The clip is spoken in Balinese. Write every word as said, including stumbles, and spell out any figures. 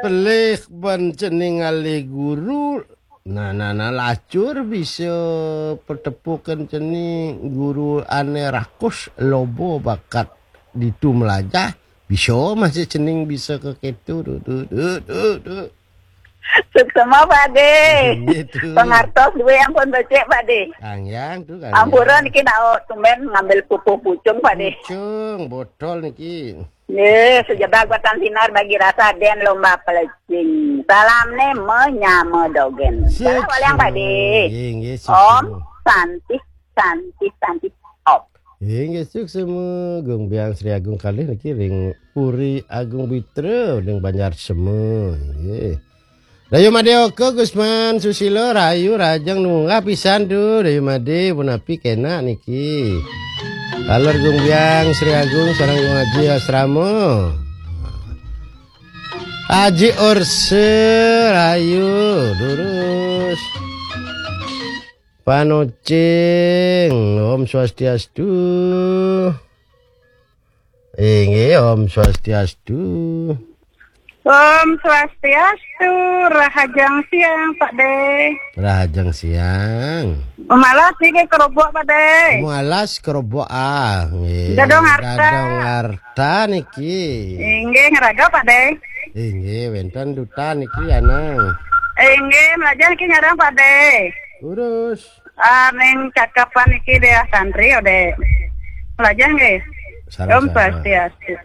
Pelih ban cening ngalih guru. Nah, nah, nah, lacur bisa petepukan cening guru ane rakus lobo bakat ditu melajah. Bisa masih cening bisa ke ketu. Duh, duh, duh, duh, duh. Suksma, Pak De. Gitu. Pengartos duwe ampun becik, Pak De. Kangyang tu, kangyang. Ampura niki nak tumben ngambil pupuh pucung, Pak De. Pucung, botol niki. Nggih, sejebar batang sinar bagi rasa den lomba pelecing. Salamne menyama dogen. Salam waliang, Pak De. Nggih, nggih, Om Santi, Santi, Santi, Om. Nggih, nggih, suksma. Gung Biang Sri Agung kalih niki ring Puri Agung Bitra ring Banjar Sema. Nggih. Rayu Made Oka, Gusman Susilo, rayu rajang nunggah pisan tu. Rayu Made, punapi kenak niki. Taler Gung Biang Sri Agung sareng Gung Aji Asrama. Aji Orse, rayu, durus. Panocing, Om Swastiastu. Inggih, Om Swastiastu. Om Swastiastu, rahajeng siang, Pak De. Rahajeng siang. Malas niki kerobok, Pak De. Malas kerobok, ah, nggih. Dadong Arta. Dadong Arta niki. Inggih, ngeraga, Pak De. Inggih, wenten duta niki, Anang. Inggih, melajah niki nyarang, Pak De. Urus. Ah, ning cakapan niki Dea Santri, Ode. Melajah nggih. Sareng Om Swastiastu.